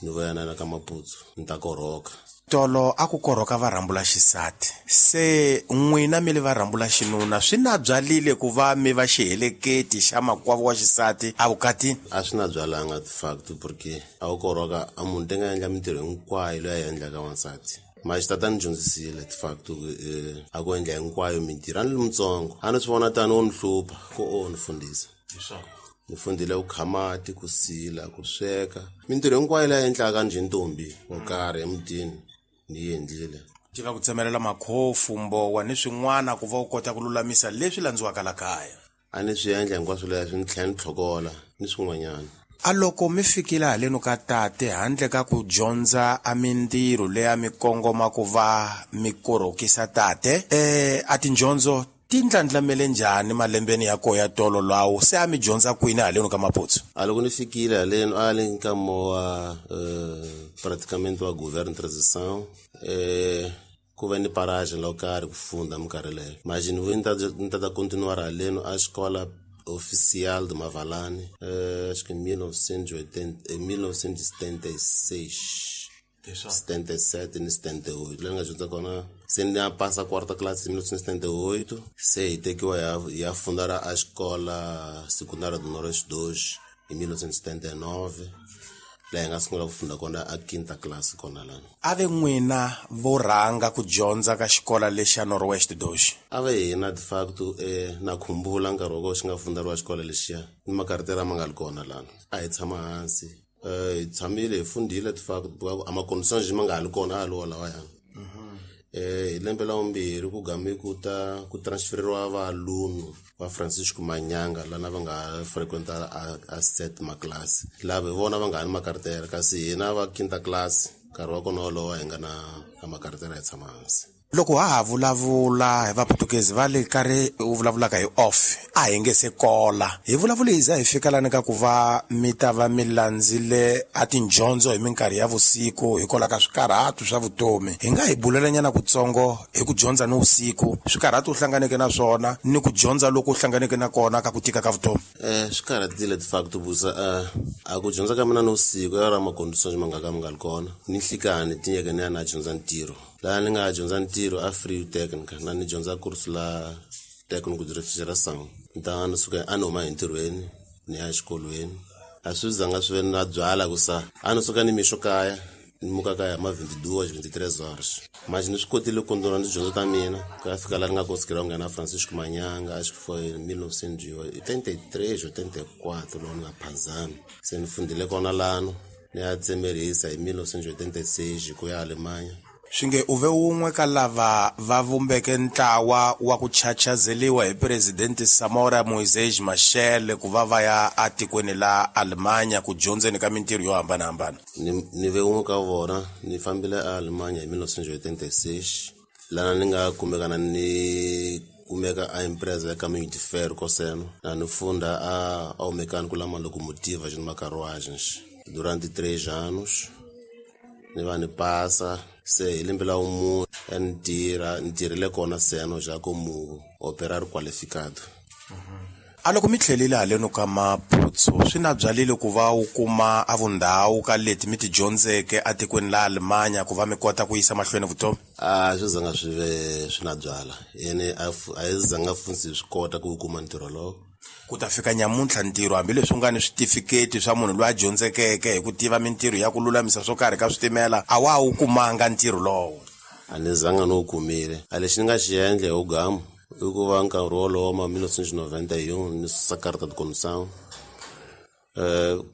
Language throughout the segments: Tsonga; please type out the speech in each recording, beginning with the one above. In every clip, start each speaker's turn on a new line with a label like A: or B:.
A: Ni vuya na ka Maputsu ni ta korhoka.
B: Tolo a ku korhoka va rhambula xisati, se n'wina mi le va rhambula xinuna, swi na byalile ku va mi va xiheleketi xa makwavo wa xisati evukatini?
A: A swi na byalanga de facto, porque a ku korhoka a munhu te nga endla mintirho hinkwayo leyi a yi endlaka wansati. Mara xitata ni dyondzisile de facto a ku endla hinkwayo mintirho. A ni ri mutsongo, a ni swi vona tani wo ni hlupha ku o ni fundhisa. Ni fundhile ku kha mati, ku sila, ku sweka, mintirho hinkwayo leyi endlaka njhe ntombi wo karhi emutini ni yi endlile.
B: Tiva ku tsemelela makhofu, mbowa ni swin'wana ku va u kota ku lulamisa leswi landziwaka la kaya.
A: A ni swi endla hinkwaswo leswi, ni tlhela ni tlhokola ni swin'wanyana.
B: A loko mi fikile haleno ka tate, handle ka ku dyondza a mintirho leyi a mi kongoma ku va mi korhokisa tate, a tindyondzo ti ndlandlamele njhani malembeni ya koho ya tolo lawo? Se a mi dyondza kwini haleno ka Maputsu?
A: A loko ni fikile haleno, a le nkama wa praticamente wa governo transição, ku ve ni parage lo karhi ku funda minkarhi leyo. Manje ni vuye ni ta continuar haleno a xikola oficial de Mavalane, acho que em 1976, 77 ni 78, leyi ni nga dyondza kona. Se ni ya pasa quarta classe hi 1978, se hi tekiwa hi ya funda ra a xikola secundária do Noroeste 2 hi 1979, laha hi nga sungula ku funda kona a quinta classe kona lana.
B: A ve n'wina vo rhanga ku dyondza ka xikola lexa Noroeste 2?
A: A ve hina de facto. Na khumbula nkarhi wa kona xi nga funderiwa xikola lexiya, ni makaritera ma nga li kona lana. A hi tshama hansi, hi tshamile hi fundile de facto, a ma-conditions ma nga ha li kona a li wo lawayana. Hi lembe la vumbirhi ku game ku ta ku transferiwa valunu va Francisco Manyanga lana va nga frequenta a settima classe, lava hi vona va nga ha ni makaritera, kasi hina va quinta classe nkarhi wa kona wolowo hi nga na makaritera, hi tshama hansi.
B: Loko ha ha vulavula hi vaputukezi va le karhi u vulavulaka hi off, a hi nge se kola hi vulavule hi za hi fika lani ka ku va mi ta va mi landzile a tindyondzo hi minkarhi ya vusiku hikwalaho ka swikarhatu swa vutomi. Hi nga hi bulelanyana kutsongo hi ku dyondza ni vusiku, swikarhatu u hlanganeke na swona ni ku dyondza loko u hlanganeke na kona ka ku tika ka vutomi?
A: Swi karhatile de facto busa. A ku dyondza ka mina ni vusiku ya ra ma-conditions ma nga ka mi nga li kona. Ni nhlikani tinyeke ni ya na dyondza ntirho, laha ni nga dyondza ntirho a Free Technical, na ni dyondza course la técnico de refrigeração. Ni ta ni suka a ni huma entirhweni ni ya exikolweni, a swi zanga swi ve na byala ku sa a ni suka ni mixo kaya, ni muka kaya ma 22, 23 horas. Manje ni swi kotile ku kondona ni tidyondzo ta mina ku ya fika laha ni nga konsikela ku nghena Francisco Manyanga, acho que foi 1983, 84, loko ni nga phazami. Se ni fundile kona lano, ni ya tsemerisa hi 1986 ku ya Alemanha.
B: Swi nge u ve wun'we ka lava va vumbeke ntlawa wa ku chachazeliwa hi presidente Samora Moisés Machel ku va va ya atikweni la Alemanya ku dyondzeni ka mintirho yo hambanahambana.
A: Ni ve wun'we ka vona, ni fambile a Alemanya hi 1986, lana ni nga kumeka na ni kumeka a empresa ya Caminho de Ferro Coseno, na ni funda a ao mecânico la locomotiva de carruagens durante 3 anos. Ni va ni pasa se hi lembe la vumunhu ni tirha, ni tirhile kona seno ja como operário qualificado.
B: A loko mi tlhelile haleno ka Maputsu, swi na byalile ku va u kuma a vundhawu ka leti mi ti dyondzeke atikweni la Alemanya ku va mi kota ku yisa mahlweni vutomi?
A: A swi zanga swi ve swi na byala yene, a yi zanga funtsi swi kota ku kuma ntirho lowo.
B: Ku ta fika nyamuntlha ntirho, hambileswi u nga ni switifiketi swa munhu loyi a dyondzekeke hi ku tiva mintirho ya ku lulamisa swo karhi ka switimela, a wa ha wu kumanga ntirho lowo?
A: A ni zanga ni wu kumile. A lexi ni nga xi endla hi wugamu i ku va nkarhi wolowo ma 1991 ni susa carta de condução,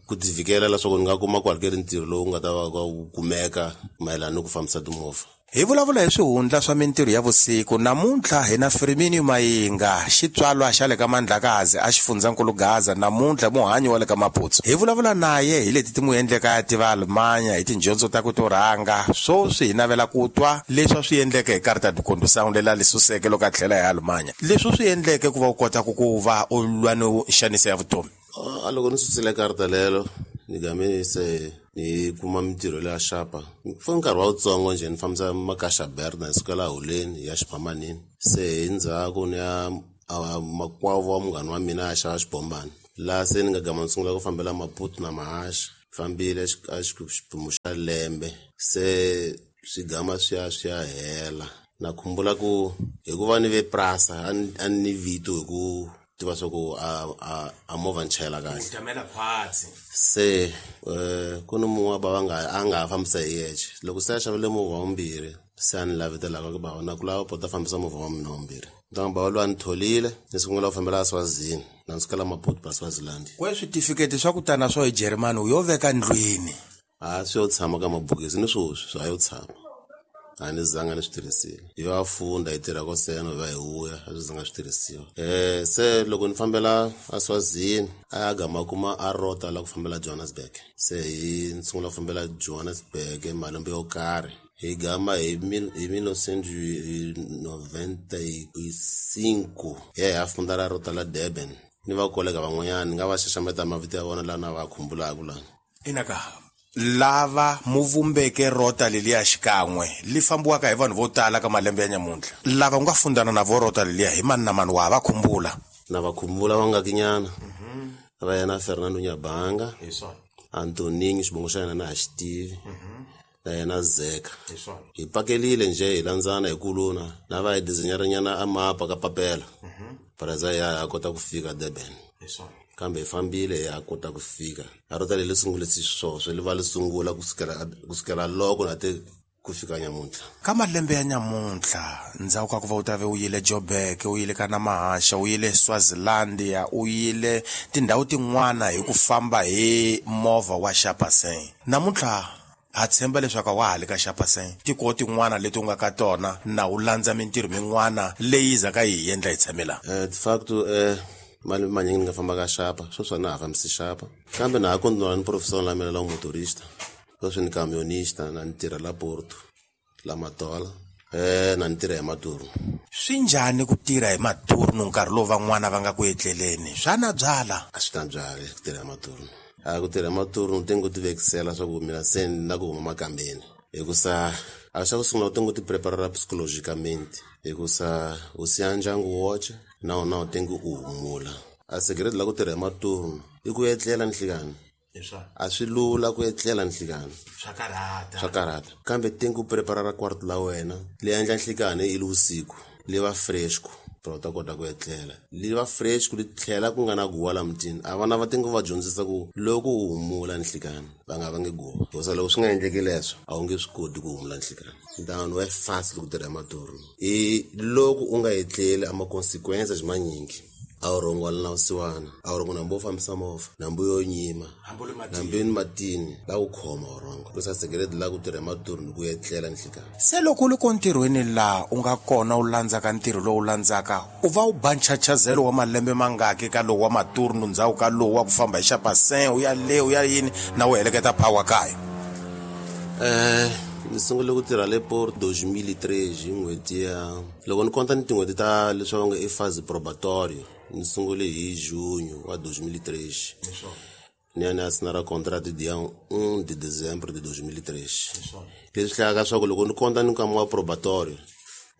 A: ku tivikela leswaku ni nga kuma ku hakeli ntirho lowu nga ta va wu kumeka mayelana ni ku fambisa timovha.
B: Hi vulavula hi swihundla swa mintirho ya vusiku namuntlha hi na Firmino Mayinga, xitswalwa xa le ka Mandlakazi a xifundzankulu Gaza, namuntlha muhanyi wa le ka Maputsu. Hi vulavula naye hi leti ti n'wi endleka ya tiva Alemanya hi tindyondzo ta ku to rhanga. Swoswi hi navela ku twa leswi a swi endleke hi carta de condução lela li suseke loko a tlhela hi Alemanya, leswi u swi endleke ku va u kota ku va u lwa ni nxaniso ya vutomi.
A: A loko ni susile karata lelo, ni game se ni kuma mintirho leya xapa for nkarhi wa wutsongo njhe, ni fambisa makaxa berna hi sukela holeni ya xiphamanini. Se hi ndzhaku ni ya makwavo wa munghana wa mina a xava xibombani, laha se ni nga gama ni sungula ku fambela Maputo na mahaxi. Fambile a xiphemu xa lembe se swigama swi ya hela. Na khumbula ku hikuva ni ve prasa a ni vito hi ku tiva swa ku a movha ni chayela kahle. Se ku ni mun'we wa bava a nga ha fambisa hi yexe. Loko se a xavile movha wa vumbirhi se a ni lavetelaka ku bava na ku lava pota fambisa movha wa mina wa vumbirhi. Ntangu bava loyi a ni tholile ni sungula ku fambela a Swazini na ni sukela Maputo pa Swaziland.
B: Kwe switifiketi swa ku tana swo hi Germany u yo veka ndlwini?
A: A swi yo tshama ka mabokisi ni swoswi swa yo tshama. A ni zanga ni swi tirhisile. Hi va funda hi tirha ko seno hi va hi vuya a swi zanga swi tirhisiwa. Se loko ni fambela a Swazini a gama kuma a rota la ku fambela Johannesburg. Se hi ni sungula ku fambela Johannesburg malembe yo karhi. Hi gama hi 1995 hi ya funda ra rota la Durban. Ni va kolega van'wanyana ni nga va xaxameta mavito ya vona laha na va khumbulaka lana.
B: Inaka lava muvumbeke rota leliya xikan'we li fambiwaka hi vanhu vo tala ka malembe ya nyamuntlha. Lava u nga fundana na vo rota leliya hi mani na mani wa va khumbula?
A: Na va khumbula vangakinyana. Va yena Fernando Nyabanga, Antoninho xivongo xa yena na ha xi tivi. Na yena Zeka. Hi pakelile nje hi landzana hi kuluna na va hi designeranyana a mapa ka papela. Paraza ya kota ku fika Durban. Kambe hi fambile ya kota ku fika. A rota leri sungule sweswo li va li sungula ku sukela loko na te ku fika nyamuntlha.
B: Ka malembe ya nyamuntlha ndzhaku ka ku va u ta ve u yile Joburg, u yile ka Namahasha, u yile Swazilandia, u yile tindhawu tin'wana hi ku famba hi movha wa Xapaseng. Namuntlha ha tshemba leswaku wa ha le ka Xapaseng tiko tin'wana leti u nga ka tona na u landza mintirho min'wana leyi zaka yi endla hi tshamela.
A: De facto malembe manyingi ni nga famba ka Xapa, sweswi a na ha fambisi Xapa. Kambe na ha continua ni profession la mina la motorista. Sweswi ni camionista na ni tirha la Porto, la Matola. Na ni tirha hi maturnu.
B: Swi njhani ku tirha hi maturnu nkarhi lowu van'wana va nga ku etleleni? Swa na byala?
A: A swi na byala ku tirha hi maturnu. A ku tirha hi maturnu te ngo ti vekisela swa ku mina se ni na ku huma makambeni. Hikusa a xa ku sungula u te ngo ti preparera psychologicamente. Hikusa u siya ndyangu woxe na wona u te ngo u humula. A segredo la ku tirha hi maturnu i ku etlela nhlikani. A swi lula ku etlela nhlikani. Swa karhata. Kambe te ngo preparera quarto la wena li endla nhlikani i le vusiku li va fresco para u ta kota ku etlela. Li va fresco li tlhela ku nga na guwa la mutini. A vana va te ngo va dyondzisa ku loko u humula nhlikani va nga vangi guwa. Hikusa loko swi nga endleki leswo a wu nge swi koti ku humula nhlikani. Ntangu wa fast loko tirha hi maturnu. I loko u nga etleli a ma consequences manyingi. A wu rhongwala na vusiwana, a wu rhongo nambu wo fambisa movha, nambu yo nyima, nambu ni matini la ku khoma wu rhongo. Ku sa segredo la ku tirha hi maturnu ku etlela nhlikani.
B: Se loko u le ko ntirhweni laha u nga kona u landzaka ntirho lowu landzaka, u va u ba nchachazelo wa malembe mangaki ka lowu wa maturnu ndzhaku ka lowu wa ku famba hi Xapaseng u ya le u ya yini na u heleketa power kaya?
A: Ni sungule ku tirha le Porto 2003 hi n'hweti ya loko ni konta ni tin'hweti ta leswi va nga i fase probatorio. Ni sungule hi junho wa 2003. Ni ya ni ya sinara contrato dia 1 de dezembro de 2003. Leswi hlayaka swa ku loko ni konta ni nkama wa probatorio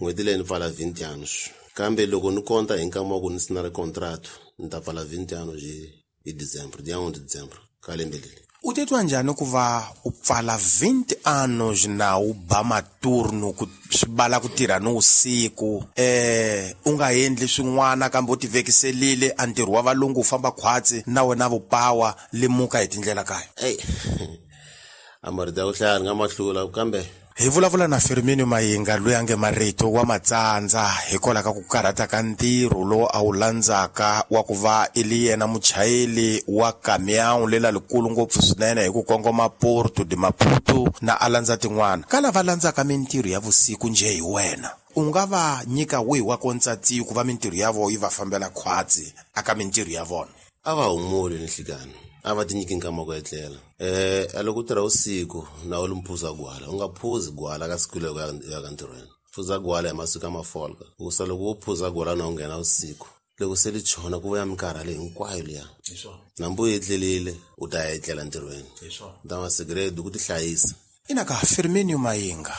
A: n'hweti leyi ni pfala 20 anos. Kambe loko ni konta hi nkama wa ku ni sinara contrato ni ta pfala 20 anos hi dezembro, dia 1 de dezembro ka lembe leri.
B: U titwa njhani ku va u pfala 20 anos na u ba maturnu ku swi bala ku tirha ni usiku u nga endli swin'wana kambe u ti vekiselile a ntirho wa valungu u famba khwatsi na wena vupawa limuka hi tindlela kaya?
A: Ey a marito ya ku hlaya ni nga ma hlula kambe
B: hi vulavula na Firmino Mayinga loyi a nge marito wa matsandza hikwalaho ka ku karhata ka ntirho lowu a wu landzaka wa ku va i li yena muchayeri wa kamiyawu lela likulu ngopfu swinene hi ku kongoma Porto de Maputo na a landza tin'wana. Ka lava landzaka mintirho ya vusiku njhe hi wena, u nga va nyika wihi wa kontsatiyo ku va mintirho ya vona yi va fambela khwatsi aka mintirho ya vona?
A: A va humuli nhlikani, a va tinyiki nkama ku etlela. A loko u tirha vusiku na u li mphuza gwala, u nga phuzi gwala ka siku loko ya ka ntirhweni. Phuza gwala hi masiku ya mafolka. Hikusa loko wo phuza gwala na u nghena vusiku, loko se li chona ku vuya minkarhalo hinkwayo liya. Nambu u etlelile u ta ya etlela ntirhweni. Nta ma segredo ku tihlayisa.
B: Ina ka Firmino Mayinga,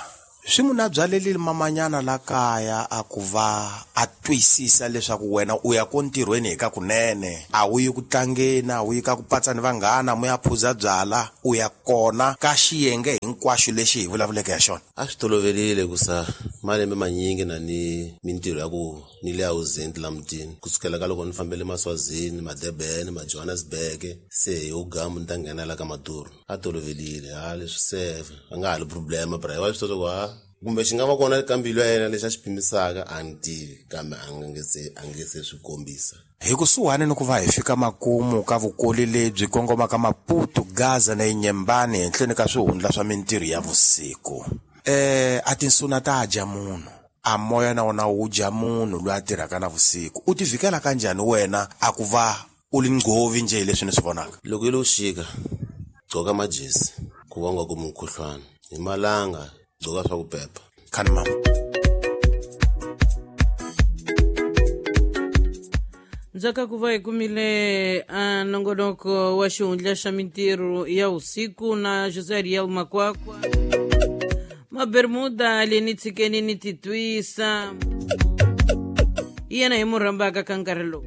B: Swi n'wi na byalelile mamanyana la kaya a ku va a twisisa leswaku wena u ya ko ntirhweni hi ka kunene, a wu yi ku tlangeni, a wu yi ka ku patsa ni vanghana mu ya phuza byala, u ya kona ka xiyenge hinkwaxo lexi hi vulavuleke ya xona.
A: A swi tolovelile ku sa malembe manyingi na ni mintirho ya ku ni le ausent la mutini, kusukela ka loko ni fambele Maswazini, Madebene, Majohannesburg, se hi ugamu ni ta nghena la ka Maduro. A tolovelile ha leswi se a nga ha li problema, bra wa swi tiva ku ha kumbe xi nga va kona ka mbilu ya yena lexi a xi pimisaka, a ni tivi, kambe a nge se swi kombisa.
B: Hi kusuhani ni ku va hi fika makumu ka vukoli lebyi kongomaka Maputo, Gaza na Inyembani henhleni ka swihundla swa mintirho ya vusiku. A tinsuna ta dya munhu, a moya na wona wu dya munhu loyi a tirhaka na vusiku. U tivikela kanjhani wena a ku va u li nghovi njhe hi leswi ni swi vonaka?
A: Loko yi lo xika, gqoka majezi ku va u nga kumi mukhuhlwana, hi malanga gqoka swa ku pepa.
B: Khani mama.
C: Ndzhaku ku va hi kumile a nongonoko wa xihundla xa mintirho ya usiku na José Ariel Makwakwa, Mabermuda le ni tshikeni ni titwisa, hi yena hi mu rhambaka ka nkarhi lowu.